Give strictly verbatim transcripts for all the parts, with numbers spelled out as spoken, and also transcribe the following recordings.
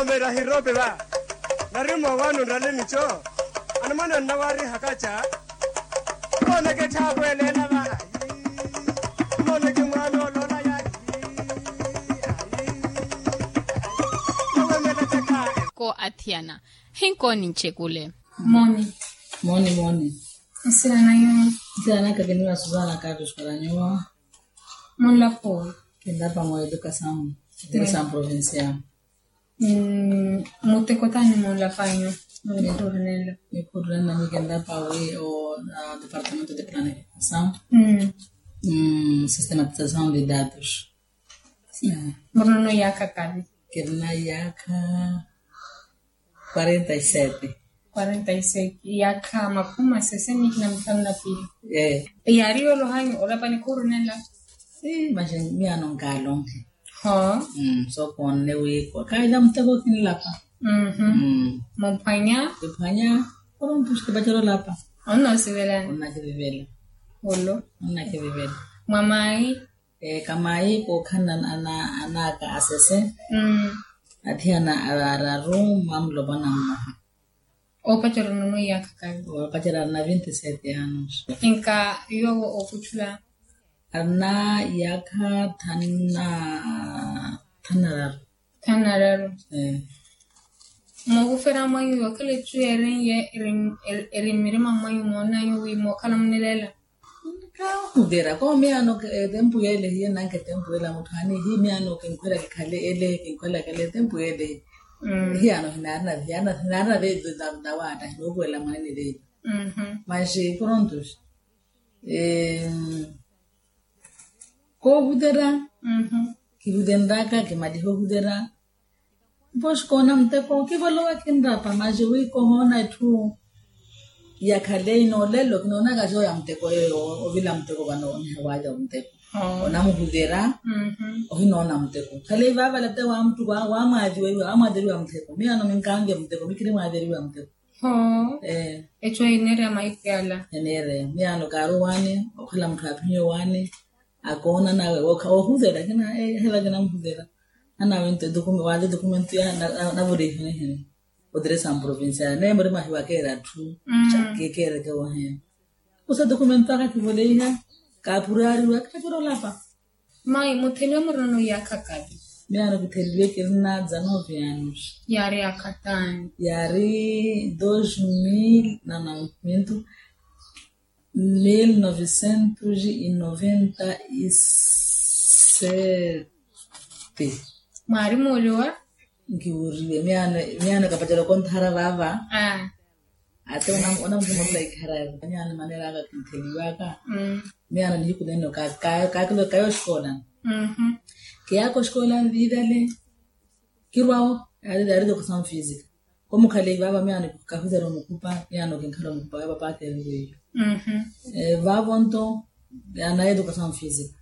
Omera hirope va. Nari mowano nrale micho. Anamana nnawarihakacha. Mona ketthapwelela va. Mona kemwana olola ya. Ko athiyana. Hinko ninchekule. Moni. Moni moni. Nsilana yo. Nsilana kakeniwa suzana katu swalanyiwa. Munlapo. Kinlapa mwa edukasamu. Edukasamu provincial. Muteko tani munlapanyu? Mukhurinela. Mukhurinela ni kinlapa wi o departamento de planificasamu. Sistematizasamu de dados. Murinono yaakha kali? Kirina yaakha quarenta e sete. Quarenta e sete. Yaakha makhumi masese ni kina mithanu na pili. Yaari yoolohanyu olapani khurinela? Maxi miyaano nkaalonhe. Sookhonne wiikwa khaila muteko kinlapa. Muphwanya? Kiphwanya. Koronto xikipacela olapa. Onnoosivelani? Onnakivivela. Olo. Onnakivivela. Mwa maayi? Kamayi kookhanna anaaka asese. Athiyana araru mwa mulopwana mmoha. Oopacerya nono iyaakha kali? Oopacerya arina vinti sete anos. Inka yoowo ookuchula? Arina iyaakha thanu na thanu na raru. Thanu na raru. Mookuferya mwanyu yookhala echu yeerinnye eri mmirima mwanyu moonanyu wi mookhala munileela? Kaahuthera ko miyaano etempu yeele hiye nanka etempu yeele a mutthu aani hi miyaano kinkhwela kikhale ele kinkhwela kale etempu yeele. Hiyaano hinaarina hiyaano hinaarina veevi. Nawaatta hinookuwela mwanene veevi. Maxi koronto xi koohuthera. Kihuthereryaka kimalihe ohuthera. Mpoxi koona muteko kivolowa kinrapa maxi wi kohoona etthu. Yakhale inoolelo kinoonaka xooya muteko yeeyo ovila muteko vano onihawalya omuteko. Onamuhuvera. Ohinoona muteko khale ivaavala te wamuttuku wamwaaveriwa muteko miyaano minkaanvya muteko mikhiri mwaaveriwa muteko. Hoo. Echo eneereya mahiku yala? Eneereya miyaano kaari owaani okhala mutthu aaphiye owaani. Akoona nawe oohuvela kina ehela kinamuhuvela. Anawe nto waali dokumento ya navorihiweheni. Otiresa mprovincial neemuri mwahiwa keera atthu. Kekeereke woheya. Kusa dokumento aka kivoleiha. Kaapuraariwa kaapira olapa. Mayi mutheliwe murinono iyaakha kali? Miyaano kitheliwe kirina dza nove anos. Yaari yaakha taani? Yaari dos mil na noventu. Mil novecentos e noventa e sete. Mwaari muuriwa? Nkiwuriwe miyaano miyaano kapacelo konthara vaava. Ate onamukhumorela ikhara yawe miyaano maneera aka kintheliwaka. Miyaano nihiku nenno kaakilokaya oxikoolani. Kiyaaka oxikoolani viivale. Kirwawo yaari yaari edukasamu fisica. Komukhaleyi vaava miyaano kahuthera omukhupa miyaano kinkhala omukhupa wa papaaka eviveyo. Vaavo nto yanaye edukasamu fisica.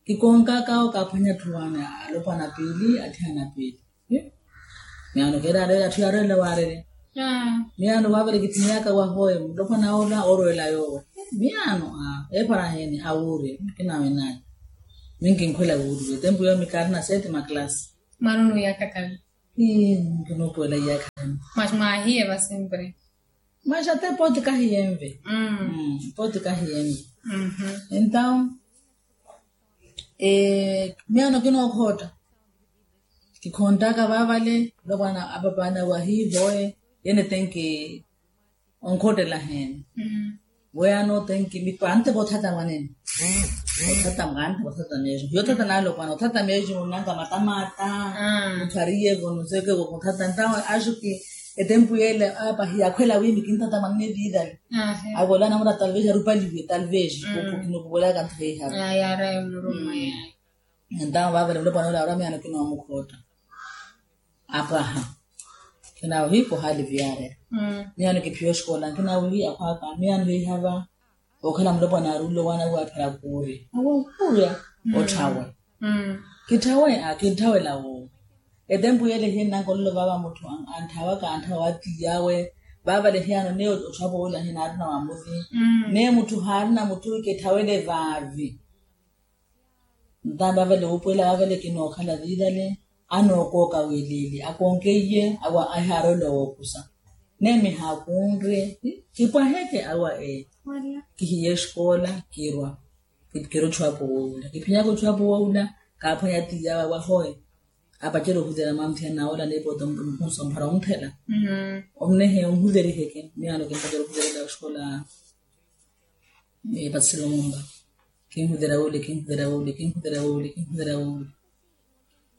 Kikonkaka awo kaaphwanya atthu waana alopwana piili atthiyana piili. Miyaano keeraareerya atthu yaarwelela waarerya. Miyaano vaavale kitthimiyaka wahoye mulopwana ola oorwelela yoowo. Miyaano eepara heeni awuurye kinawenaaye. Minkinkhwela wuuriwe tempu yoomi kaarina sete maklasi. Mwaari onuuyaka kali? Ii nkinuupuwela iyaakha. Masi mwaahiye va sempre? Masi ate pooti kahiyenve. Pooti kahiyenve. Entaw miyaano kinookhootta. Kikhonttaka vaavale. Lopwana apapaana wahiivoye yene tenki. Onkhottela heene? Weyaano tenki mittu antepa othata mwanene. Othata mwanene othata meeximu hiyo othata naalopwana othata meeximu nnanka matamata. Mutthu ariyevo nuseke othata ntawe axuki. Etempu yeele apa hiyakhwela wiimi kinthata mwanene viitali. Avola namura talvez arupaliwe talvez. Kinokuvolaka nthu heihavi. Entawe vaavale mulopwana ole aura miyaano kinoomukhotta. Apaha kinawihi kuhali viyaarela. Miyaano kiphiya oxikola nkinawihi akhwaaka miyaano hiihava. Okhala mulopwana aruule owaana wiwaphera kuurya awo nkuurya. Otthawe kitthawe a kintthawe lawo. Etempu yeele hiye nnankololo vaava mutthu antthaawaka antthawa wa tiyawe. Vaavale hiyaano neyo otthapo wila hinaarina wamuthi. Neyo mutthu haarina mutthu wi kitthawele vaavi. Ntaani vaavale wuupuwela vaavale kinookhala viilale. Anookooka wiiliili akoonkeiye awa ahaarela wookusa. Neemi haakunre kipwaheke awa ee. Kihiye exkoola kirwa. Kiro otthu apo woowula kiphinyaka otthu apo woowula. Kaaphwanya tiiya awa ahoye. Apacela ohuthela manthiya nawola niipoota mukhunsa omphara onthela. Omnehe onhuleriheke miyaano kimpacela ohuthelela oxkola. Epatselo mumba kinhuthela wole kinhuthela wole kinhuthela wole kinhuthela wole.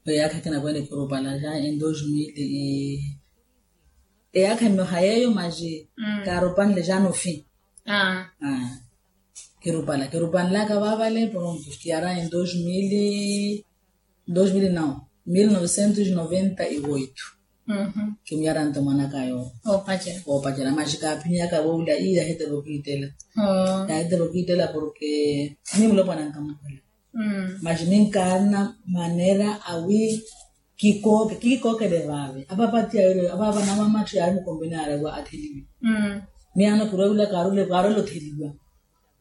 Eyaakha kinakwene kirupala ja en dos mil. Eyaakha mmoha yeeyo maji kaarupanle ja nofi. Kirupala kirupanlaka vaavale pronto kiyara en dos mil. Dos mil nao mil novecentos noventa y oito. Kimuyara nto mwanaka yoowo. Oopacela maxi kaaphinyaka voowula iira ahitela okiitela. Ahitela okiitela porke ni mulopwana nkamukhwela. Maxi ni nkaarina manera awi kikooke kiikookele vaave apapatiya yole apapa namamatthi yaari mukombe naari atheliwe. Miyaano kiroowula kaarole kaarole otheliwa.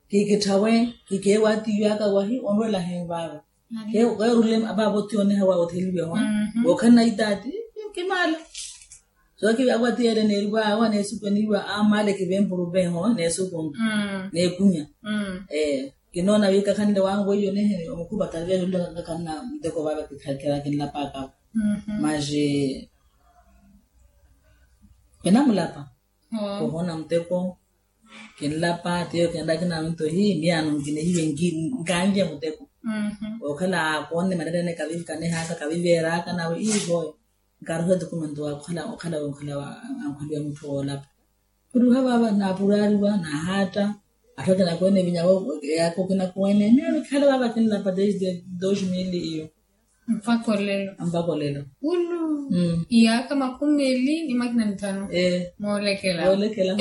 Kikitthawe kikeewa atiiwaka wahi onrwela henvaava. Keerule apaapa otiyoneha wa otheliwe wa wookhalana itaati. Kimaala sookivi akwatiyele neeriwa awa neesukweniwa amaale kivempuru veho neesukunga neekunya. Ee kinoona wi kakhanle wangu weiyo neheni omukhupa kaviya yolulaka kakhanna muteko vaava kikhakhela kinlapaka. Maxi kinamulapa. Khuhoona muteko kinlapa tiyo kinlapa kinaminto hi miyaano nkinehiwe nkanlye muteko. Okhala akoonne manera ene kavikanehaka kaviveeraka nawe ihoyo. Nkaruhe dokumento wa okhala okhala okhala ankhwaliwa mutthu woolapa. Khuruha vaava naapuraariwa naahaatta. Atthu akinakwene vinyawo yaakho kinakwene miyaano khala vaava kinlapa desde dos mil iyo. Mpaka olelo. Mpaka olelo. Ulu. Iyaakha makhumi meeli ni makina mithanu. Moolekela moolekela.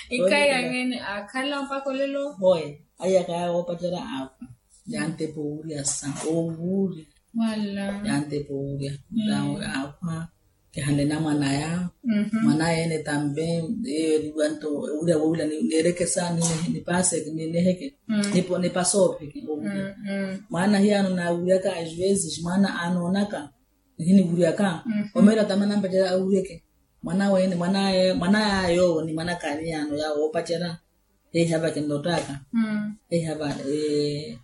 Ikaya ngene akhala mpaka olelo. Hoye. Aiyaka yaawo opatera akhwa. Yantepa owurya sa owurya. Wala yantepa owurya. Akhwa. Kihale namwanaya. Mwanaya ene tambe eyo eriwanto ewurya wowula neerekesa nineheke nipaseke nineheke. Nipasoopheke owurya. Mwana hiyano naawuryaka as vezes mwana anoonaka nihiniwuryaka. Omeela tame anampacela awuryeke. Mwana wene mwanaya yoowo ni mwanaka aniyano yaawo oopacela. Heiha va kinnottaka. Heiha va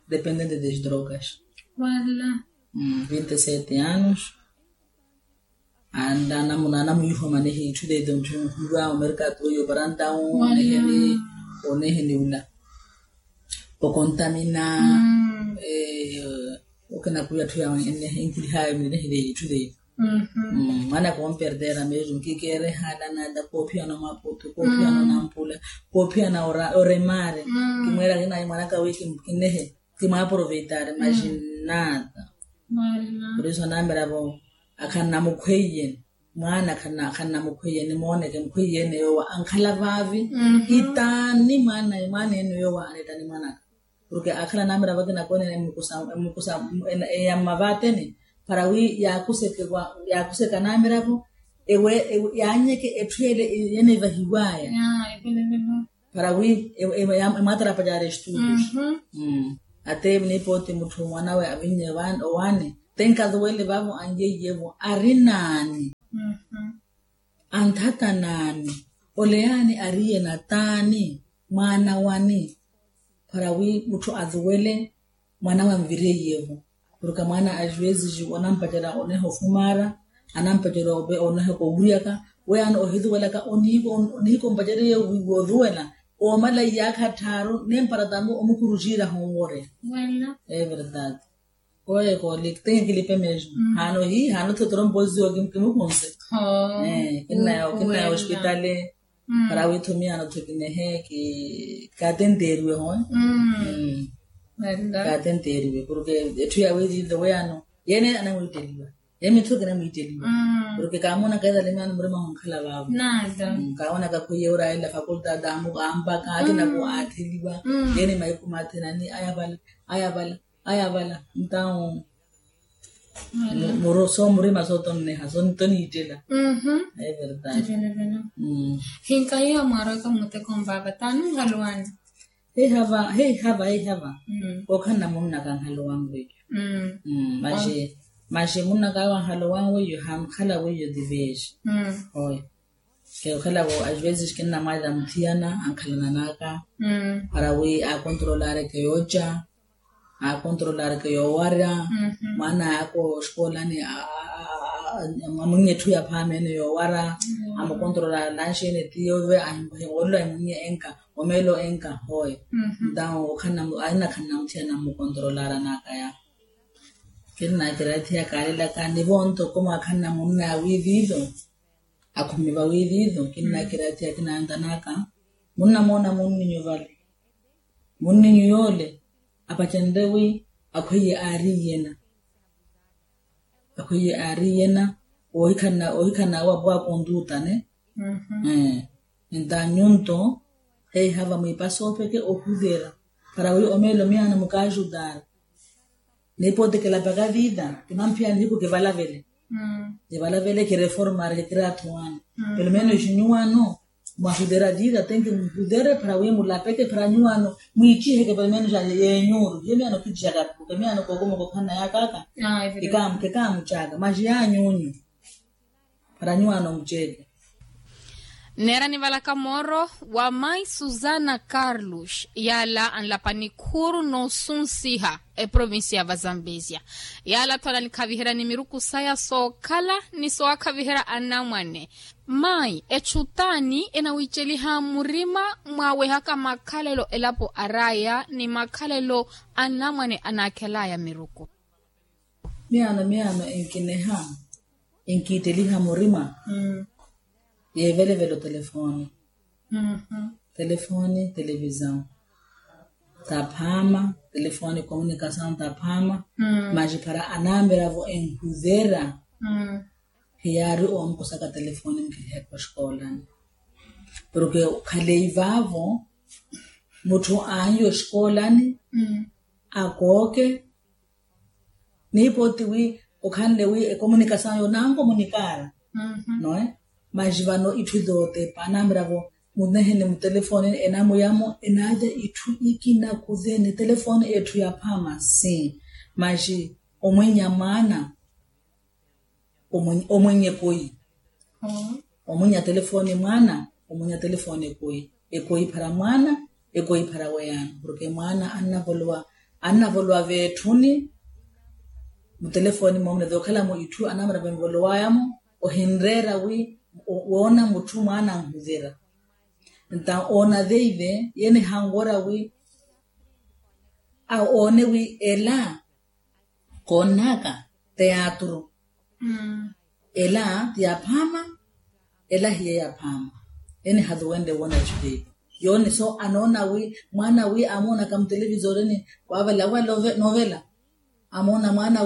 dependente de drogas. Wala vinte sete anos. Anda anamuna anamuyihoma nehi itthu deto ntthu nhuwa omerkatu oyo parantawu oneheni oneheni ula okontamina. Okinakuya atthu yawe enkilihayo minehi deyi itthu deyi. Mwana komperdera mesmo nkikeere halana nda koophiyana omaputu koophiyana onampula koophiyana oremare. Kimweera kinayi mwanaka wi kinehe kimwaaproveitari maxi nada. Por eso anamiravo akhannamukhweiyeni mwaana akhannamukhweiyeni mooneke mukhweiyeni yoowa ankhala vaavi. Itaani mwaana mwaana ene yoowa anitaani mwaanaka. Porke akhala anamiravo akinakwene emukusa emukusa eya mmavaateni para wi yaakuseke anamiravo ewe yaanyeke etthu ele enevahiwaya. Para wi emwaatarapacaari estudos. Ate nipooti mutthu mwanawe avinye owaani te nkaduwele vavo anyeyevo ari naani? Anthata naani? Ole yaani ariye nataani? Mwaana wani? Para wi mutthu aduwele mwanawe anvireiyevo. Porke mwaana ajuwezi ju onampacela oneha ofumara anampacela oneha kowuryaka. Weyaano ohiduwelaka onihikompaceliye woduwela oomala iyaakha tthaaru nempara tambi omukuruciira honwore. Everdade. Koye kolikte kilipe mesmo. Hano hi hano thotorompoziwa kimukunse. Kinnayo kinnayo ospitale. Para withumiya anothokinehe ki kaatenteeriwe howe. Kaatenteeriwe porke etthu yawirire weyano yene anamwitteliwa. Ye mithuki anamwitteliwa porke kaamoonaka ethalimiyano murima honkhala vaavo. Kaamoonaka khwiye oraela fakultade ampaka akinaku aatheliwa. Yene mahiku mathenani aya vala aya vala aya vala. Ntawo muro soomurima sootonneha sontoniittela. Everdade. Hinkahiya mwaarowaka muteko mvaava taani ohaluwani? Heihava heihava heihava. Okhanna munnaka anhalowanwe iyo. Maxe maxe munnaka awe anhalowanwe iyo hankhala weiyo diveji. Oyo kekhalawo ajuwezi kinnamwalila muthiyana ankhalananaka para wi akontrolareke yooca, akontrolareke yoowarya. Mwana ako oxikolani amwinnye etthu yaphaama ene yoowara. Amukontrola lanxi ene tiyo ve ahimuhimolelo ahimunnye enka omeelo enka hoye. Ntawo okhanna aina khanna muthiyana amukontrolara nakaya. Kinnakira ethiya kaalelaka nivo ntoko mwakhanna munna awiiviilo. Akhumiva wiiviilo kinnakira ethiya kinaantanaka. Munnamoona munninyu vale. Munninyu yoole apacenre wi akhweiye aari iyena. Akhweiye aari iyena. Ohikhanna ohikhanna awo apuwa akontutane. Nta nyunto heihava mwiipasa opeke ohuvera para wi omeelo miyaano mukaajutara. Niipotikela paka viita kimamphiyani hiku kivalavele. Kivalavele kireformari kikira athuwano. Pelo menos nyuwano mwahutera viita tenki muhutere para wi mulapeke para nyuwano mwiiciheke pelo menos yenyuuru hiyo miyaano kiicihaka. Miyaano kookuma kokhanna yakaka. Kikaamucaka maji yanyunyu. Para nyuwaano muceeke. Nneera nivalaka mooro wa mai susana carlos yaala anlapa nikhuuru noosunsiha eprovincia ya vazambezia. Yaala-tho ananikhaviherya ni miruku saya sookhala ni soowakhavihera anamwane. Mai etthu t'ani enawiceliha murima mwaawehaka makhalelo elapo araya ni makhalelo anamwane anaakhelaya miruku? Miyaano miyaano enkineha enkiiteliha murima. Yeevelevele otelefoni. Telefoni televisão taphaama. Telefoni komunikasaw taphaama. Maxi para anamiravo enhuvera hiyaari owamukusaka telefoni nkihekwa oxikoolani. Porke khalei vaavo mutthu aanyu oxikoolani akooke niipooti wi okhanle wi ekomunikasaw yo nankomunikaara. Noe maxi vano itthu tootepa anamiravo munehene mutelefoni enamuyamo enalya itthu ikina kuthene telefoni etthu yaphaama si maxi omwinya mwaana omwinya ekoi. Omwinya telefoni mwaana omwinya telefoni ekoi. Ekoi para mwaana ekoi para weyaano porke mwaana annavolowa annavolowa veetthuni. Mutelefoni moomuna thookhalamo itthu anamara vanvolowayamo ohinreera wi woona mutthu mwaana anhuvira. Nta oona veive yene hanwora wi oone wi ela koonnaka teatro. Ela ti yaphaama ela hiye yaphaama. Ene hathuwenle woona etthu teipa yoone so anoona wi mwaana wi amoonaka mutelevisoreni waavela awa novela amoona mwaana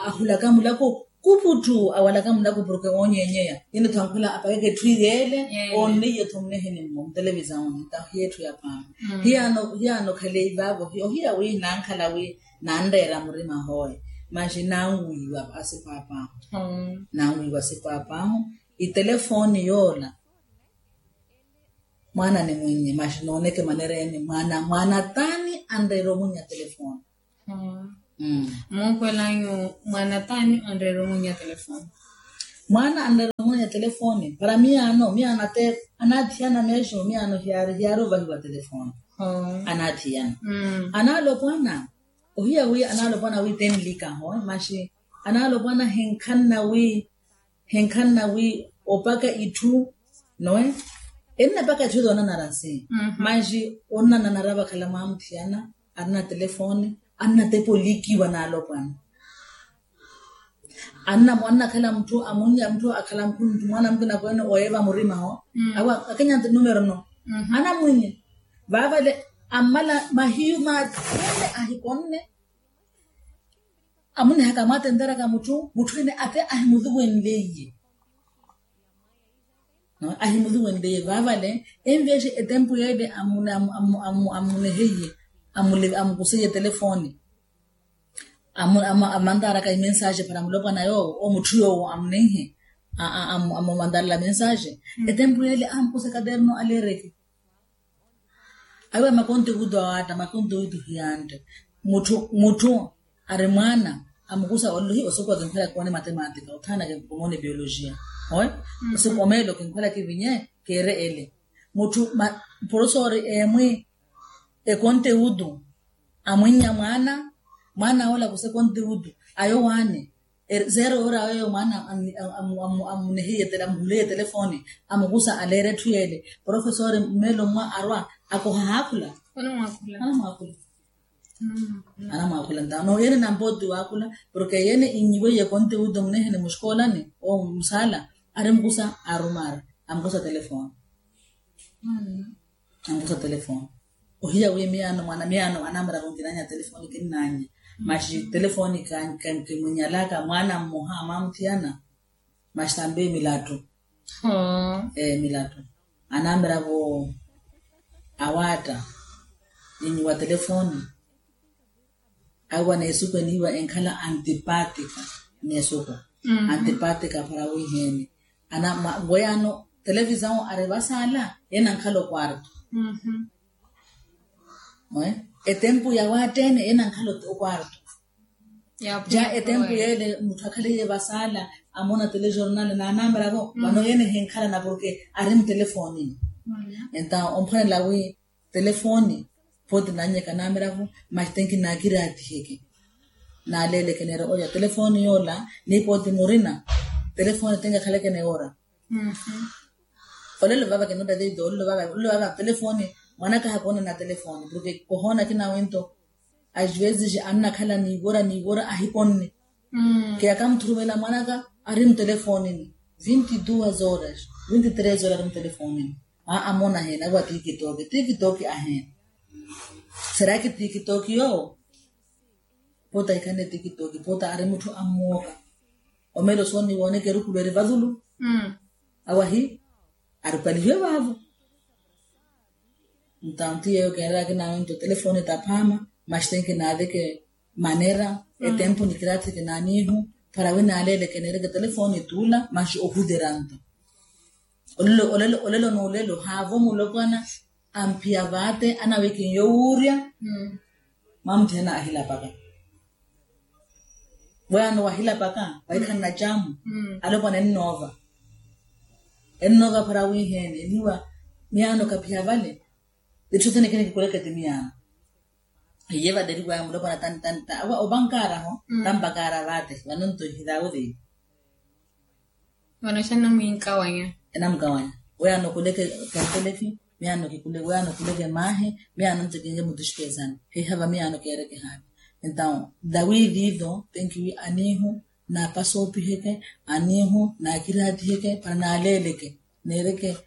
ahulaka mulako kuputthu awalaka mulako porke woonyenyeya. Ene thankhula apakeke etthu iyeele oonneiye-tho muneheni mmo mutelevisaoni ta hiye etthu yaphaama. Hiyaano hiyaano khalei vaavo ohiya wi nankhala wi nanreera murima hooye maxi nanwiiwa asipaapaahu. Nanwiiwa asipaapaahu itelefoni yoola mwaana nimwinye maxi nooneke manereeni mwaana mwaana t'ani anreera omwinya telefoni. Muukhwelanyu mwaana t'ani anreera omwinya telefoni? Mwaana anreera omwinya telefoni para miyaano miyaano ate anaathiyana meexo miyaano hiyaari hiyaari ovahiwa telefoni. Anaathiyana anaalopwana ohiya wi anaalopwana wi tenlikaho maxi anaalopwana hinkhanna wi hinkhanna wi opaka itthu noe ennapaka itthu toonanara si maxi onnananara vakhala mwaamuthiyana arina telefoni annatepa olikiwa anaalopwana. Anna mwaana akhala mutthu amunnya mutthu akhala mutthu mwaana mukina kweene oyeeva murima ho awa akinyanti numero no anamwinye vaavale ammala mahiyu mathene ahikonne amunihaka amwatenteraka mutthu mutthu ene ate ahimutuwenleiye. Ahimutuwenleiye vaavale envexe etempu yeele amuneheiye amukuseiye telefoni amantaraka imensaxe para mulopwana yoowo omutthu yoowo amunenhe amumantarela mensaxe. Etempu yeele amukusa katerno aleereke Ayo makonte wutu awata makonte wutu hiyante. Mutthu mutthu ari mwaana amukusa ololohi osoko akinkhwela koone matematika othana ke komoone biologia. Oyo osoko omeelo kinkhwela kivinye keere ele. Mutthu porosori emwi ekonte wutu amwinnya mwaana mwaana ola kusa ekonte wutu ayo waani. Seero ora weyo mwaana amunehiye amuhuleiye telefoni amukusa aleera etthu yeele. Porofesori mmeelo mwa arwa akoha haakhula. Anamwaakhula. Anamwaakhula ntaano yeene nampooti waakhula. Porke yeene innyiweiye konte wuto munehene muxikoolani owo musaala ari mukusa arumaara amukusa telefoni. Ankusa telefoni ohiya wi miyaano mwaana miyaano anamera kunkinanya telefoni kinnanya. Maxi telefoni kankimunyalaka mwaana mmoha mwamuthiyana. Maxi tambi milattu. Milattu anamera vo awaatta ninyi wa telefoni. Awa neesuku eniiwa enkhala antipatika. Neesuku antipatika para wiiheeni ana weyaano televisao ari vasaala. Enankhala okwarto. Etempu ya waatteene enankhala okwarto. Ja etempu yeele mutthu akhaliye vasaala amona telejornal naanameravo vano yeene hinkhalana porke ari mutelefonini. Enta omphwanela wi telefoni pooti nannyeka namiravo. Maxi tenki naakiraatiheke naaleeleke neera olya telefoni yoola. Ni pooti murina telefoni tenki akhaleke neewora. Olelo vava kinotta tito olelo vava olelo vava telefoni. Mwanaka hakoona na telefoni porke kohoona kinawe nto. As vezes annakhala niivora niivora ahikonne. Kiyaka muthurumela mwanaka ari mutelefonini vinti duas horas vinti tres horas ari mutelefonini. Aa amona aheene awa tikitoki tikitoki aheene. Seraki tikitoki yoowo? Poota ahikhanne tikitoki poota ari mutthu ammooka. Omeelo sooni wooneke erukulu eri vazulu. Awahi arupalihiwe vaavo. Ntanti yeeyo keeraka kinawe nto telefoni taphaama. Maxi tenki naaveke manera etempu nikiraatheke naaniihu para wi naaleeleke neereke telefoni tuula maxi ohuteranto. Olelo olelo olelo noolelo haavo mulopwana amphiya vaate anawikinyo wuurya. Mwamuthena ahilapaka. Weyaano wahilapaka wahikhanna camu. Alopwana ennoova ennoova para wiiheene eniiwa. Miyaano kaphiya vale. Itthu tene kinikikuleke ti miyaano. Hiye vateriwaya mulopwana tantanta awa opankaraho. Tampakara vaate vano nto hitawo vei. Vano xanamwinkawanya. Enamukawanya. Weyaano kuleke kantelefi. Miyaano kikuleke weyaano kuleke maahi. Miyaano nto kinke mutuxikesani. Hihava miyaano keereke haani. Entaw dawi viido tenkiwi aniihu napasoopiheke aniihu naakiraatiheke para naaleeleke neereke.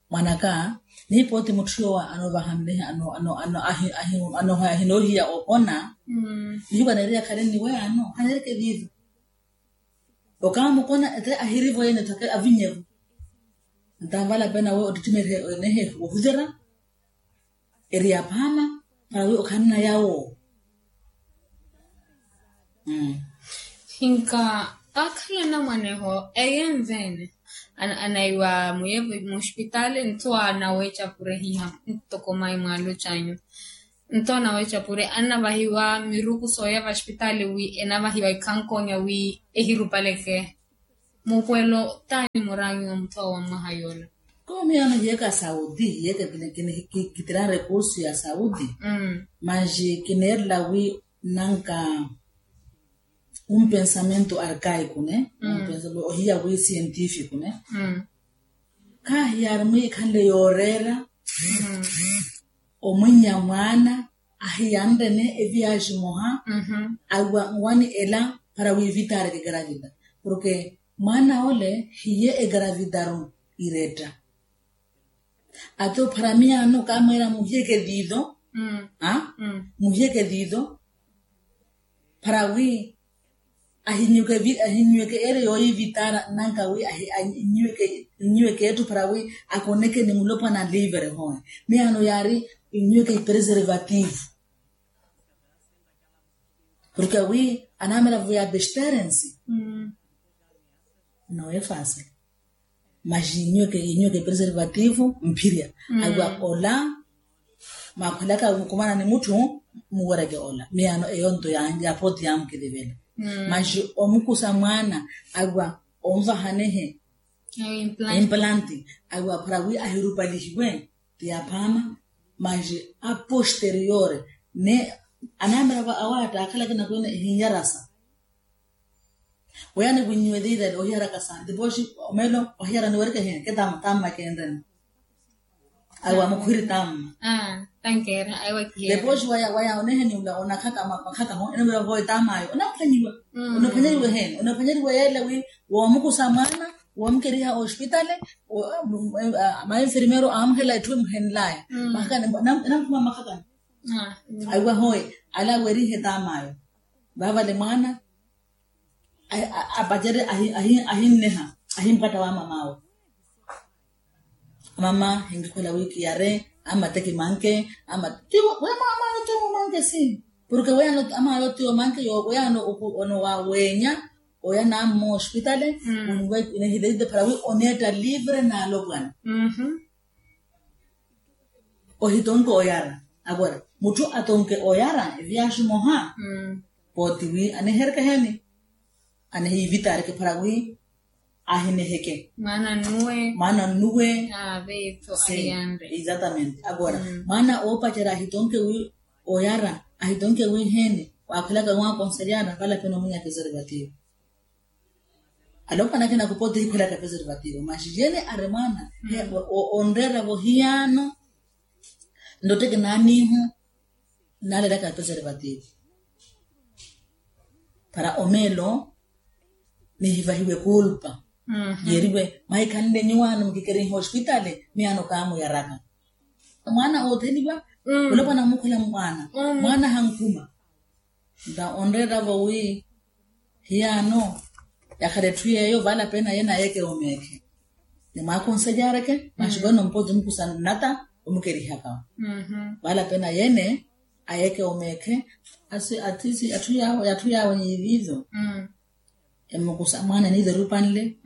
Mwanaka ni pooti mutthu yoowa anovaha mmehe ano ano ano ahi ahi ano ahinoohiya opona. Nihiwa neeriya khale nniweya ano haneereke viivi. Okaamukona ete ahirivo yene thake avinyevo. Ntamvala pena we ottittime enehe wohutera. Eri yaphaama para wi okhanna yawo. Hinka akhala namwaneho eye nveene anaiwa muye muxpitaali nto anaweeca pure hiha. Ntoko mayi mwaalo canyu nto anaweeca pure anavahiwa miruku sooya vaxpitaali wi enavahiwa ikhankonya wi ehirupaleke. Mupuwelo taani muraanyu wa mutthu awo wa mwaha yoola. Koomiya ano hiyeke asaudi hiyeke kitiran rekursu ya saudi. Manji kineerela wi nanka un pensamento arkaiku ne. Ohiya wi sientifiku ne. Khaahiyari mwiikhanle yooreera omwinnya mwaana ahiyanrene eviyaxi moha. Awa nwani ela para wi vitaareke egaravida. Porke mwaana ole hiye egaravidaru iretta. Ate opharamiya ano kaamweera muhiyeke diido. Muhiyeke diido para wi ahinyuweke eere yooyivitaara nanka wi ahinyuweke etthu para wi akoneke ni mulopwana livre howe. Miyaano yaari inyuweke ipreservativu. Porke wi anaamera vo ya besterensi. Nowe fasi maxi inyuweke inyuweke preservativu mphirya. Awa ola Maakhwelaka mukumana ni mutthu muwereke ola miyaano eyo nto ya pooti yaamukilivela. Maxi omukusa mwaana awiwa onvahanehe implanti awiwa para wi ahirupalihiwe ti aphaama. Maxi a posteriore ne anaamira awatta akhalaka inakwina ehinyarasa. Weya niwinyiwe liilelo ohiyaraka santi pooxi omelo ohiyara niwereke hiya ke tamma tamma kenrena. Awiwa mukhwiri tamma. Depooxi waya waya oneheni ula onakhaka makhaka ho enamira voye tammayo onaphanyiwa. Onaphanyeriwe hene onaphanyeriwe yeela wi woomukusa mwaana woomukeriha ospitale. Mainfermeiro aamuhela etthu emuhenlaya makhakani enamphuma makhakani. Awiwa hoye ala werihe tammayo vavale mwaana apacere ahinneha ahimpatta wa mamawe. Mama hinkikhwela wi kiyare ama te kimanke ama tiwo wemama tiwo manke si. Porke weyano ama yo tiwo manke yo weyano ono wa wenya oya nammo ospitale. Unwe inehilelite para wi onetta livre nalopwana. Ohitonke oyara agora mutthu atonke oyara eviaxi moha. Pooti wi anehereke heni anehivitareke para wi ahineheke mwaana nnuwe. Mwaana nnuwe. Exatamente agora mwaana oopacerya ahitonke wi oyara ahitonke wi heni waakhwelaka wi akonselyana valapena omwinya preservativo. Alopwana akina kupooti hikhwelaka preservativo maxi yene ari mwaana onreera vohiyaano. Ndotteke naaniihu naalelaka preservativo para omeelo nihivahiwe kulpa. Yeriwe mahikhanle nyuwaano mukikeriha ospitale miyaano kaamuyaraka. Mwaana ootheliwa olopwana mukhwela mwaana mwaana hankhuma. Nta onreeravo wi hiyaano yakhala etthu yeeyo valapena yene ayeke omeekhe nimwaakonselyaareke maxi vano mpooti omukusa nnata omukerihaka. Valapena yene ayeke omeekhe asi atthu yaawe niiviizo. Emukusa mwaana eniizo erupanle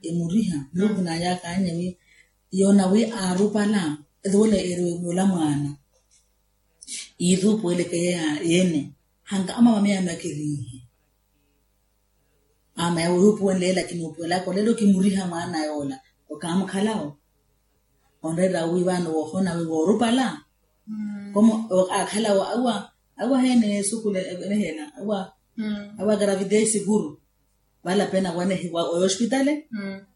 emuriha. Muluku nayaakaanye wi yoona wi aarupala etuwela eri ola mwaana. Iithuupuweleke yene hanka amama miyaano akeriihe. Ama yawe yuupuwenle lakini upuwelaka olelo kimuriha mwaana yoola okaamukhalao. Onreera wi vano woohona wi woorupala komo akhalawo awa awa hene esukule enehena awa awa gravide seguru. Valapena wanehiwa oyo ospitale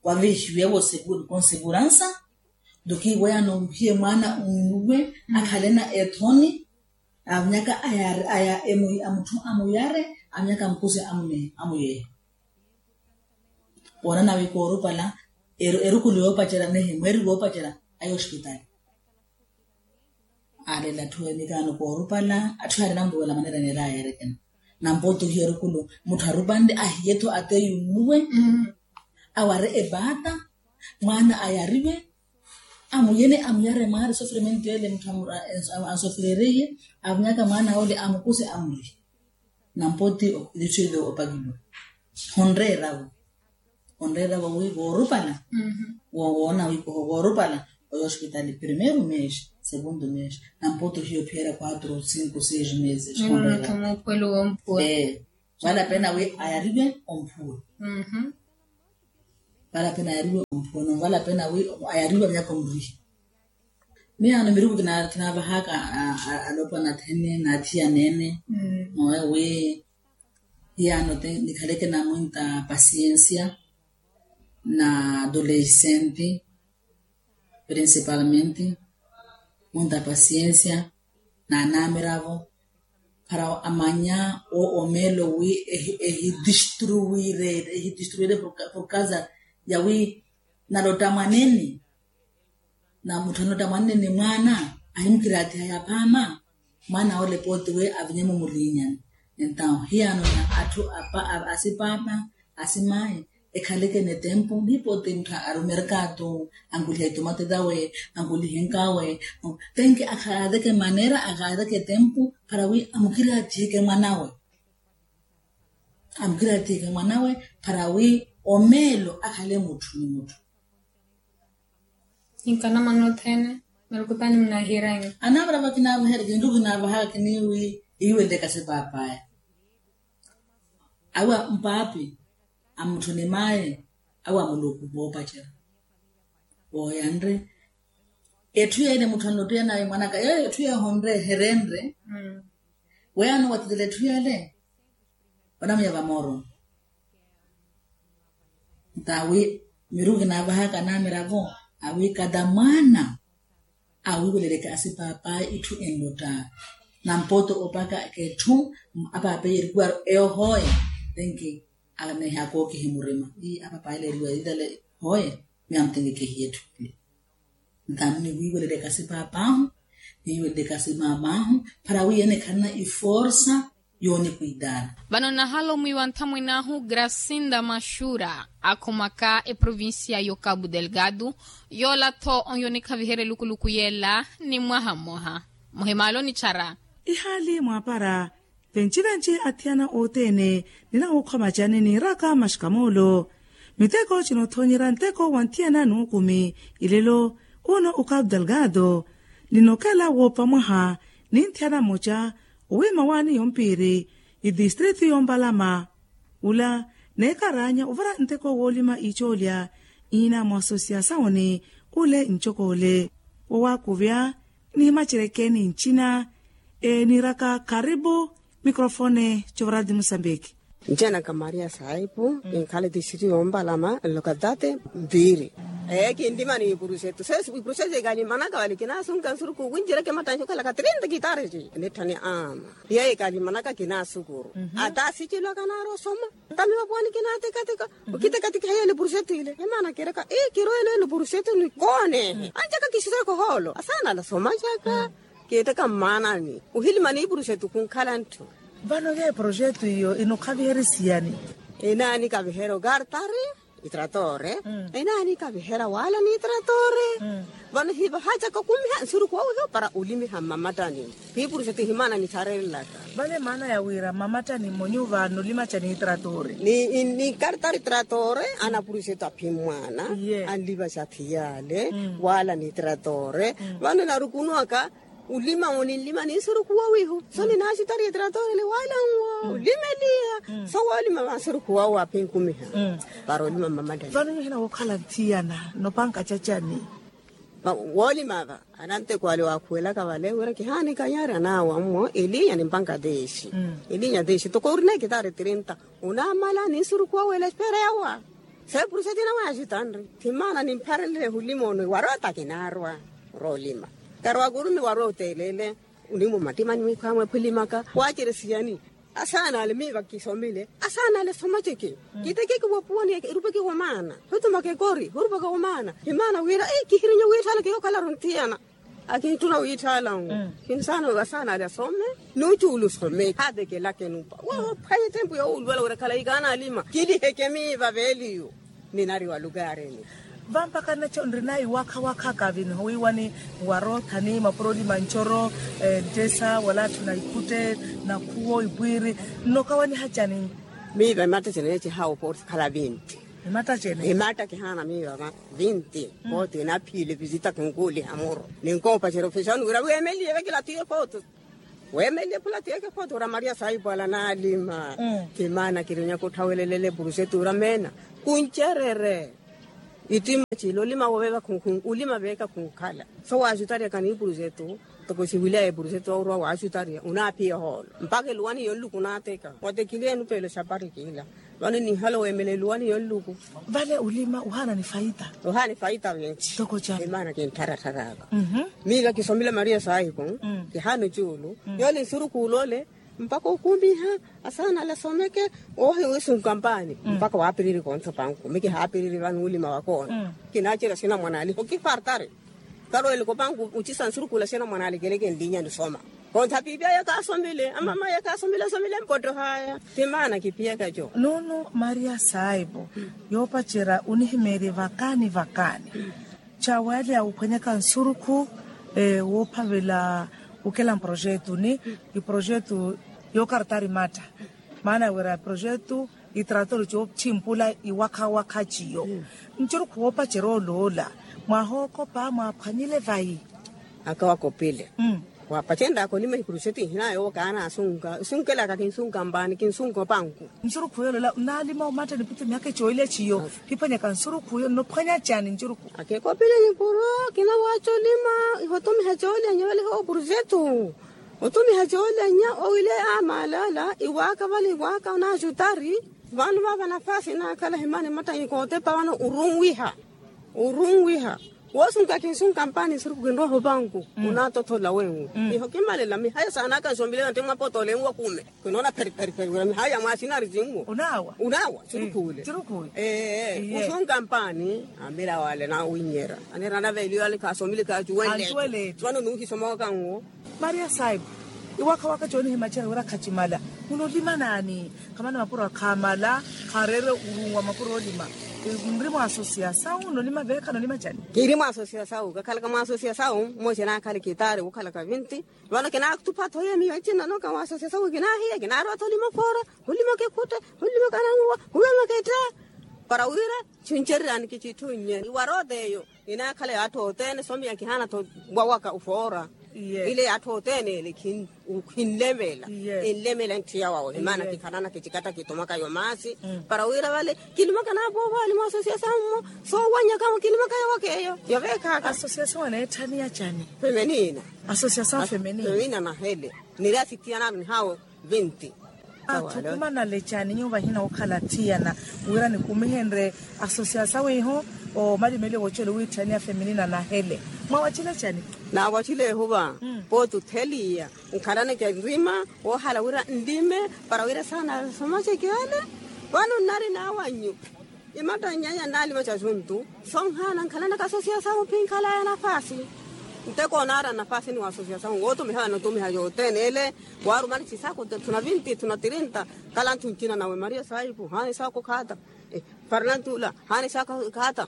wavihiwe vo seguru konseguransa. Nto kiiweyano ohiye mwaana unnuwe akhalena ethoni. Avinyaka aya aya emutthu amuyare avinyaka amukuse amuyehe. Woonana wi koorupala erukulu yoopacerya nehe mweeri woopacerya ayi ospitali. Aalela atthu emikaano koorupala atthu yaari nampuwela maneira neera ayeerekena. Nampooti ohiya erukulu mutthu arupanle ahiye-tho ateyu nnuwe aware epaata mwaana ayariwe. Amuyene amuyare mwaari sofrimentu ele mutthu ansofrereye avinyaka mwaana ole amukuse amurihe. Nampooti ilitthu ile opakiwa honreeravo onreeravo wi voorupala woona wi koho voorupala oyo ospitali primeiro mesi segundo mesi nampooti ohiya ophiyeera quatro cinco seis meses. Onreeravo valapena wi ayariwe omphuwe. Valapena ayariwe omphuwe no valapena wi ayariwe avinyaka omurihe. Miyaano miruku kinaavahaka alopwana athene na athiyaneene. Mowe wi hiyaano te nikhaleke na muinta pasiensia na adolescente principalmente muinta pasiensia na anaamiravo para amanya omeelo wi ehidistruwire ehidistruwire por causa ya wi nalotta mwanene. Na mutthu anotta mwanene mwaana ahimukiraatiha yaphaama mwaana ole pooti wi avinyemo muliinyani. Entaw hiyaano na atthu asipaapa asimayi ekhaleke netempu nihipooti mutthu arumerkatu ankulihe itomate tawe ankulihe nkawe. Tenki akhaateke maneera akhaateke tempu para wi amukiraathiheke mwanawe. Amukiraathiheke mwanawe para wi omeelo akhale mutthu ni mutthu. Inkana mwana othene Marukutani mnahiranyu. Anavara vakinaavaherya kintu kinaavahaka kiniwi iweleka si paapaya. Awa mpaapi, amutthu ni maye, awa muluku voopacerya. Vooyanre etthu yeene mutthu annottiyanawe mwanaka yeeyo etthu yeehonre eherenre. Weyaano wathutela etthu yale. Vanamuya vamooroni. Ntawi miru kinaavahaka anamiravo awi kada mwaana awiweleleke asipaapaya itthu enlotta. Nampoto opaka ketthu apaapaya erikuwaro eyo hooye. Tenki aneha kookihi murima ii apaapaya ele eriwa itale hooye. Miya mutenki kehiya etthu ile. Ntamu niwiweleleke asipaapaahu niwiweleleke asimaamaahu para wi ene kharina iforsa. Yoonikwitaana. Vano nahalo mwiiwa nthamwin'ahu gracinda maxura akhumaka eprovincia y'okabu delgado. Yoola-tho onyo nikhaviherya elukuluku yeela ni mwaha mmoha muhimaale onichara. Ihaali mwaapara venci-venci athiyana othene ninawookhwa macani niiraka maxikamoolo. Miteko cinothoonyerya nteko wa nthiyana n'ukumi ilelo uno okabu delgado. Ninokela woopa mwaha ni nthiyana mmoca owiima waani yompiiri itistritu yompalama. Ula neekaraanya ovara nteko woolima icoolya iina mwa asosiyasawoni ule ncokoole. Wowakuvya nihimacerekeeni ncina. Niiraka karipu mikrofone covarati musambiki. Ncina ka maria saipu kinkhala etistritu yompalama nlokatati mpiiri. Ee kinlima ni ipurusetu sesu ipurusetu ekalimanaka vale kinasunka nsuruku wincereke matthanci okhalaka trinta kitare ci nitthani ama. Yeeyo ekalimanaka kinaasukuru ata sicilwaka naari osoma. Tamiwa puwani kinaatikatika okitikatika heyo ni purusetu ile emaana kiraka ii kirwele ni purusetu ni koone. Ancaka kisireku hoolo asaana ala somacaka. Kiitaka mmaanani ohilima ni purusetu kunkhala ntthu. Vano yeeyo purusetu iyo inokhaviherya siyani? Inaani kaviherya okartari itratore. Inaani kaviherya waala ni itratore. Vano hivahacaka okumiha nsuruku wawiho para olimiha mmamattani. Hiipuruseti himaana nitharelelaka. Vale maana ya wira mmamattani mmonyu vano olimaca ni itratore. Ni kartari itratore anapuruseti aphimmwaana. Anlivaca athiyale waala ni itratore. Vano narukunwaka olima oninlima ni nsuruku wawiho so ninaasitari itratore ni waala nwo olimeliha. So woolima va nsuruku wawo aphinkumiha para olima mmamattani. Vano nyuhina wookhala nthiyana nopanka cacani? Woolima va ananteko ale waakhuwelaka vale wira kihaani kanyari anaawa mmo elinya ni mpanka teexi. Elinya teexi toko orina ekitari trinta onaamala ni nsuruku wawo ele espera yawa. Sepurusa tina waaxitanri thimaana nimpharelele hulima ono iwaroota kinaarwa roolima. Karwakurume iwaroota elele. Onimwa mmattimani mwikhwamwe phulimaka waaceresiyani? Asaana ale miiva kisomile asaana ale somaceke. Kitekeke wopuwani erupeke womaana hutumaka ekori hurupaka womaana. Himaana wira ii kihirinya wiitthaala kiyookhalari onthiyana. Akintthuna wiitthaala nwo kinsaana asaana ale asome. Nucuulu some haatekelake nupa woophwanya etempu yoowuluwela wira khalayi kaanaalima kiliheke miiva veeliyo. Ninari wa lukarini. Vampakha nnacho nrina iwakha-wakha kavini howiiwani warothani mapuro olima ncoro. Nttesa wala atthu na ikhutte nakhuwo ipwiiri nnokawaniha cani? Miiva imattacene neecihawa oporsi khala vinti. Imattacene imatta kihaana miiva va vinti. Pooti inaphiile visita kinkuuliha muro ninkoopacerya ofixaani wira weemenliye vekila tiye pooti. Weemenliye phula tiyeke pooti wira maria saipu ala naalima. Kimaana kirinyaka otthawelelele purusetu wira meena kuncererye. Ittima cila olima woveeva khunkhun olima veeka khunkhala so waaxutaryaka ni purusetu. Toko siwilyaye purusetu wawurwa waaxutarya onaaphiya ohoolo mpakha eluwani yonluku onaateka watekiliye enupeelo xapari kiila. Vano ninhala oweemela eluwani yonluku. Vale olima ohaana ni faita. Ohaana ni faita vinci. Toko cani? Imaana kinttharattharaka. Miila kisomile maria saipu kihaana ocuulu yoole nsurukuula ole mpakha okumiha asaana ale asomeke. Oohiwisunka mpaani mpakha waapiriri kontho panku mi kihaapiriri vano olima wakoona. Kinaacerya sinamwanaale hokifartari. Karweleke opanku ocisa nsurukuula sinamwanaale keleke nlinya nisoma. Kontha piipi aya kaasomile amama aya kaasomile asomile mpottohaya. Timaana kiphiyaka co. Nuunu maria saipu yoopacerya onihimeerye vakaani vakaani. Cawaale awuphwanyaka nsurukhu woophavela okela mprojetu ni iprojetu yookartari matta. Maana wira projetu itratori cootthimpula iwakha-wakha ciyo. Nsurukhu woopacerya oloola mwaahookopa mwaaphwanyile vayi? Aka wakopile. Wapacenraka olima ikuruxeti ihina yoowo kaana asunka isunkelaka kinsunka mpaani kinsunka opanku. Nsurukhu yolola naalima omatta nipithe mihaka ecoolya ciyo. Kiphwanyaka nsurukhu yo nnophwanya cani ncurukhu? Akekopile nikuru. Kinawaca olima iho otumiha coolya nyeveliha opuruxetu. Otumiha coolya nya owile amalala iwaaka vale iwaaka onaxutari. Vano vava nafasi nakhala himani matta nikootepa vano urunwiha. Urunwiha. Woosunka kinsunka mpaani nsurukhu kinroha opanku. Onatothola wenwe. Iho kimalela mihaya saanaka nsombile nati mwapotole nwakume. Kinoona pheri pheri pheri wira mihaya mwasinari sinwo. Unaawa. Unaawa. Nsurukhu wile. Ee. Usunka mpaani. Amira wale nawinyera anera naveeliwale khasoomile khacuwele. Vano nuuhisomowaka nwo. Maria saipu. Iwakha waka coonihimacerya wira khacimala. Munolima naani? Khamana mapuro akhaamala. Khareere urunwa mapuro olima. Nri mwa asosiyasawu nolima veekha nolima cani? Kiiri mwa asosiyasawu kakhalaka mwa asosiyasawu. Mmoja nakhale kitaari wukhalaka vinti. Vano kinaatupha-tho yeeni yacina noka mwa asosiyasawu kinaahiya kinaarowa-tho olima foora. Hulima kikhutte. Hulima kananguwa. Hulima ketta. Para wira chincererani kichitthunye iwaroota eyo. Inaakhala yaatthu othene somiya kihaana-tho wawaka ufoora. Ile yaatthu othene ele khinlemela. Enlemela nttiya wawe himana kikhalana kichikatta kitomaka yo maasi. Para wira vale kilimaka naapoovaali mwa asosiyasawu mmo. Soowanyaka mwo kilimaka yawaka eyo. Yaveekhaaka asosiyasawu aneetthaniya cani? Femenina. Asosiyasawu femenina nahele. Niri asithiyana aru nihaawe. Vinti. Atthu kumanale cani nyuwo vahina wokhala athiyana wira nikumihenrye asosiyasawu iho. Omalimeliwa woocela owiitthaniya femenina nahele. Mwawacile cani? Naawacile ehuva. Pooti otheliya nkhalane ca nrima woohala wira nlime para wira saana somaceke ale. Vano nnari naawannyu imatta nnyanya nnaalima ca juntu. Sonhaana nkhalanaka asosiyasawu phi nkhalaya nafasi. Nteko onaara nafasi ni wa asosiyasawu wootumiha vano otumiha yothene ele. Waarumani cisaako etthu na vinti etthu na tirinta. Kala nthu ncina nawe maria saipu haana isaako khata. Farnantula haana isaako khata.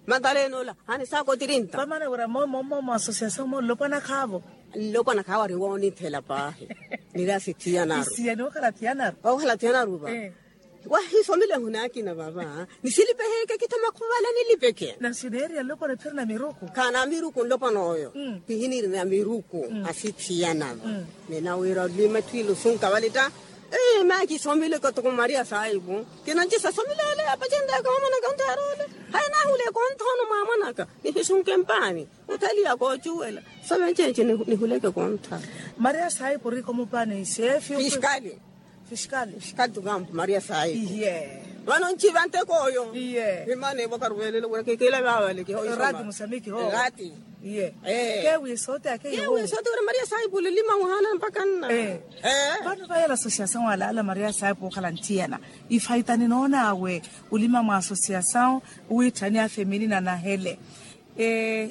Mantalenola haana isaako tirinta. Vamana wira momo mmomo asosiyasawu mmo nlopwana khaavo. Nlopwana khaavo ari woonithela paahi. Niri asithiyana aru isiya niwokhala athiyana aru. Wawokhala athiyana aru va. Wahisomile ehuna akina vava. Nisilipeheke kittha makhuvala nilipeke. Nasi neeriya nlopwana ephiro na miruku. Khaana miruku nlopwana oyo. Pihiniri na miruku asithiyana va. Ninawiira olima etthu ile osunka vale tta. Maakisomile katoko maria saipu. Kinancisa somile ale apacenrya koomonaka ontaara ole. Hayi naahule kontha ono mwaamonaka. Nihisunke mpaani. Othaliya koocuwela. Sove ncenci nihuleke kontha. Maria saipu ori komupaani seefi. Fiskali. Fiskali. Fiskali tukampu maria saipu. Vano nciva nteko oyo. Himana evo karuveelelo wira kikila vaavale kiho. Erati musamiki ho. Erati. Kewi sote akeyi kewi sote wira maria saipu olilima muhana mpaka nna. Vano vayela asosiyasawu alaala maria saipu okhala nthiyana. Ifaita ninoon'awe olima mwa asosiyasawu. Owiitthani afeminina nahele.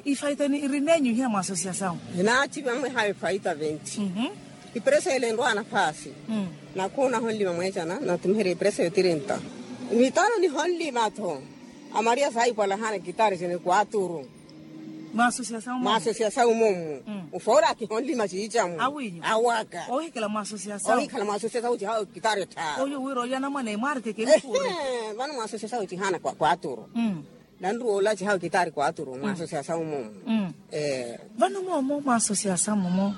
Ifaita iri nenyu ihiya mwa asosiyasawu. Naaci vamweha efaita venti. Ipreso ele enrwa nafasi. Nakhuuna honlima mweecana natumiherya ipreso yo tirinta. Mitano nihonlima-tho. Amaria saipwalahana kitari sene kwaturu. Mwa asosiyasawu mommo. Ufoora akihonlima ciicamu awaka. Ohikhala mwa asosiyasawu cihawo kitari tharu. Oyo wira olya namwana emwarikeke. Vano mwa asosiyasawu cihana kwaturu. Nanruwa olaci hawe kitaari kwaturu mwa asosiyasawu momo. Vano momo mwa asosiyasawu momo.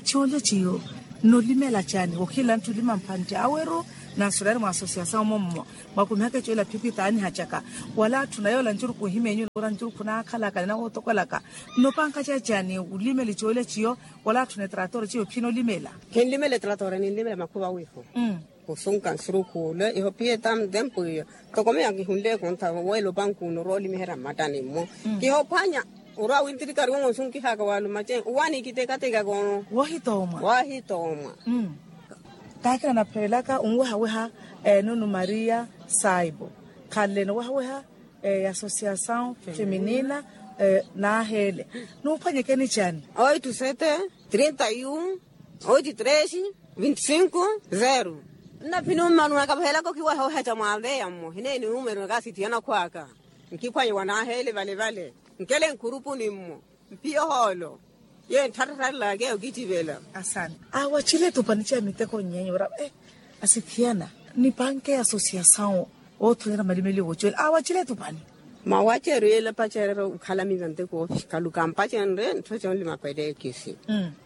Ciolya ciyo nnolimela cani okhila ntthulima mphantte aweru? Nasuriyari mwa asosiyasawu momo mwakumihaka ecola phiphi taanihacaka wala atthu nayola ncurukhu ohimeenyu ora ncurukhu naakhalaka ninawotokwelaka. Nnopankaca cani olimela ecola ciyo wala atthu netratora ciyo phinolimela? Khinlimela etratora ninlimela makhuva wiiho. Khusunka nsurukhu ole iho phiyeta ntempu iyo. Ntoko miyo akihunle ekontha weela opanku uno orwa olimiherya mmattani mmo. Kihophwanya orwa wintirikari wongo nsunkihaka walumace owaani kitekateka koono. Woohitoomwa. Woohitoomwa. Kaakina naphelelaka onwehaweha nunu maria saipu khanle nowehaweha y'asosiyasawu feminina. Naaheele nuuphwanyekeni cani? Oitu sete trinta yu oitu tresi vinti sinku zeru. Nnaphini ummanuwaka vahelaka okhiweha oheca mwaveya mmo hineeni numero nakaasithiyana khwaka. Nkiphwanye wanaaheele vale vale nkele nkhurupuni mmo. Mpiyo hoolo ye ntthartharelaka eyo kitivela. Asani awacile tupani ca miteko nyenya ora asithiyana nipanke asosiyasawu. Othonyera malimeliwo wocela awacile tupani. Mwawaceryo yeela pacereryo okhala miva nteko ofiskalu kampacenrye ntthoca onlima pelekisi.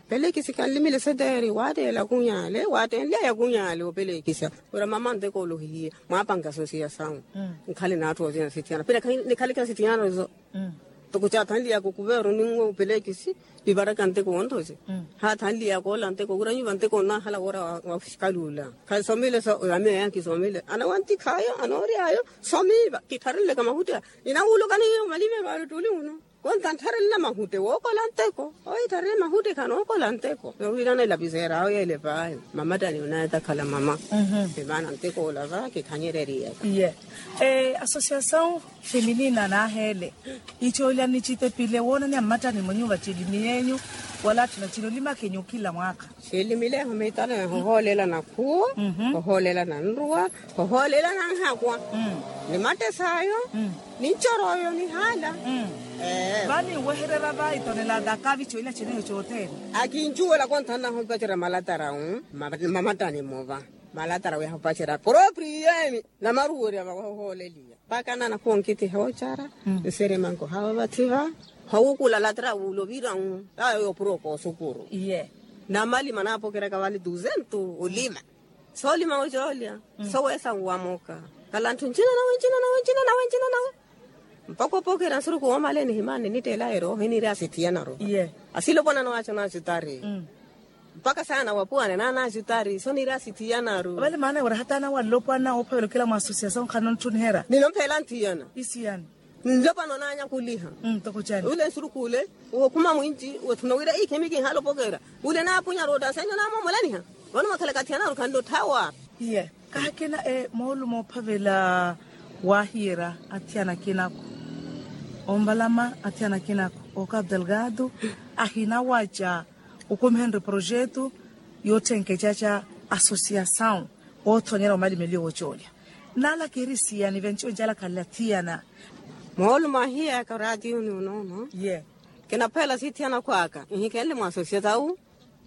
Pelekisi kanlimile seteeri waatteela kunyale waattenlyaya kunyale opelekisa. Wira mama nteko olohihiye mwaapanka sosiya sawu. Nkhale n'atthu othina sithiyana pila nikhalekela sithiyana zo. Toko caathanliyaka okuveru ninwe opelekisi livaraka nteko wonthoce. Haathanliyaka ola nteko wira nyuva nteko onnahala woora wa ofiskalu ola. Khasomile so yamiyo yankisomile anawantikhaayo anoory'ayo. Somiiva kittharenleka mahutte. Inawulukani hiyo malimeru ari ottuli uno. Konta nttharenla mahutte wookola nteko. Ohittharene mahutte khanookola nteko nowiirana elapiseera awo yeele paayo. Mamattani onaye takhala mama. Emaana nteko ola va kikhanyereriyaka. Iye. Asosiyasawu feminina naaheele icoolya nicitepile woonaniha mmattani mwa nyuva cilimi yenyu. Wala atthuna cino limakenyu kila mwaakha. Ciilimileho miitano ya hohoolelana khuwo, hohoolelana nruwa, hohoolelana nhakwa, ni mattesaayo, ni ncorooyo ni haala. Vani nwehererya va itonela dakavi coina ceneyo cothene. Akincuwela konthannaho mpacerya malatarawu. Mamattani muva malatarawu yahupacerya propriyo emi. Namaruwerya vawahohooleliya mpaka nana khwonkitiha ocara. Nseremanko hawa vathi va hawukula latra wuulovira wu. Tawe opuro koosukuru. Namali manapokeraka vali duzentu olima. Soolima ocoolya soweesa nwamoka. Kalanthu ncina nawe ncina nawe ncina nawe ncina nawe. Mpaka opokera nsuruku woomaleni himani nitteela erooho iniiri asithiyanaru. Asile opona nawaco naacutari. Mpaka saana wapuwane naana acutari so niiri asithiyanaru. Vale maana wira hata anawalla opwana oophavela okela mwa asosiyasawu nkhana ontthuniherya. Ninompheela nthiyana. Isiyani. Nlopwana onaanyakuliha. Ule nsurukhu ule wokhuma mwinci woothuna wira ikhemi kinhala opokera. Ule naapunya rotta senyo naamomolaniha. Vano mwakhalaka athiyanaru khannotthawa. Iye. Kahakina moolumo oophavela waahiyerya athiyana akinako. Omvalama athiyana akinako oka abdelgado ahinawaca. Okumihenrye projetu yootthenkecaca asosiyasawu oothonyerya omalimeliyo woocoolya. Naalaka eri siyani venci onjalakhalela thiyana. Moolumo ahiyaka oraatiyuni onoono. Ye. Kinaphela sithiyana khwaka nhikhenle mwa asosiyasawu.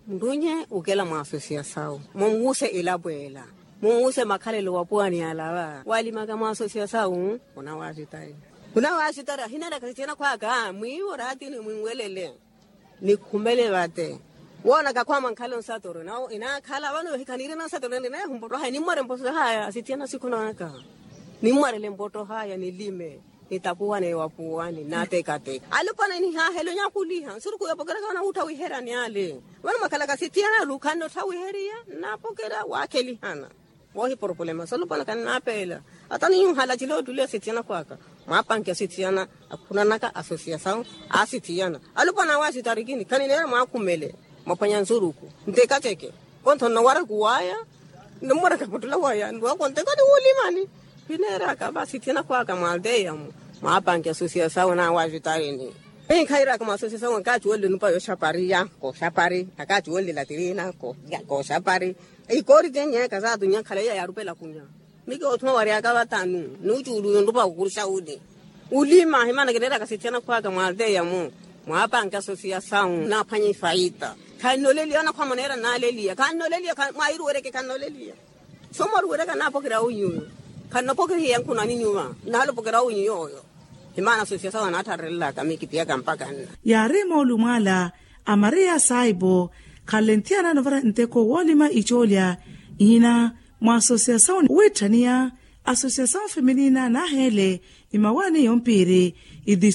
Nrunye okela mwa asosiyasawu munwuse elapo ela. Munwuse makhalelo wapuwani yalava walimaka mwa asosiyasawu. Khunawasitayi. Khunawasitayi ahineeraka sithiyana khwaka mwiivo oraatiyuni mwinwelele. Nikhumele vate. Woonaka khwama nkhale onsatoro nawo inaakhala vano yohikha niirina onsatoro ninaye humpotto haya nimmware mpotto haya asithiyana sikhunaka. Nimmwarele mpotto haya nilime. Nitapuwane wapuwani natekateka alupwana nihahelo nyakuliha nsuruku yopokeraka vanawuttha wiheryani ale. Vano mwakhalaka sithiyana lukhannottha wiheriya. Napokera waakhelihana. Woohiporopolema solupwana kannapeela. Ata ninyuhala cila ottule asithiyana khwaka mwapanke asithiyana. Akhunanaka asosiyasawu asithiyana alupwana awe asitarikini khanineera mwaakhumele. Mwaphwanya nsuruku ntekaceke. Kontho nnowaraka uwaya. Nnommwaraka putula waya nrwaka onteka niwulimani. Khineeraka va asithiyana khwaka mwa alteya mu. Mwapanke asosiyasawu nawe asitarini. Inkhairaka mwa asosiyasawu nkaacuwelele nupa yooxapari ya kooxapari akaacuwelele latirina kooxapari. Ikoori tenyeeka saatunya nkhala iya yaarupela kunya. Miki othuma waryaka vatanu nuucuuluyo nrupa kukuruxa uli. Ulima himana kineeraka sithiyana khwaka mwa alteya mu. Mwapanke asosiyasawu naaphwanya ifaita. Khannoleliya anakhwama neera nnaleliya khannoleliya. Mwahiruwereke khannoleliya. Soomaruwereka naapokerya awo inyuyo. Khannopokerihiya nkhunani nyuva. Nahalopokerya awo inyuyooyo. Himana asosiyasawu anaattharerelaka mikipiyaka mpaka nna. Yaari moolumo ala a maria saibo. Khanle nthiyana novara nteko woolima icoolya ihina mwa asosiyasawu wiitthaniya. Asosiyasawu feminina naaheele imawaani yompiiri.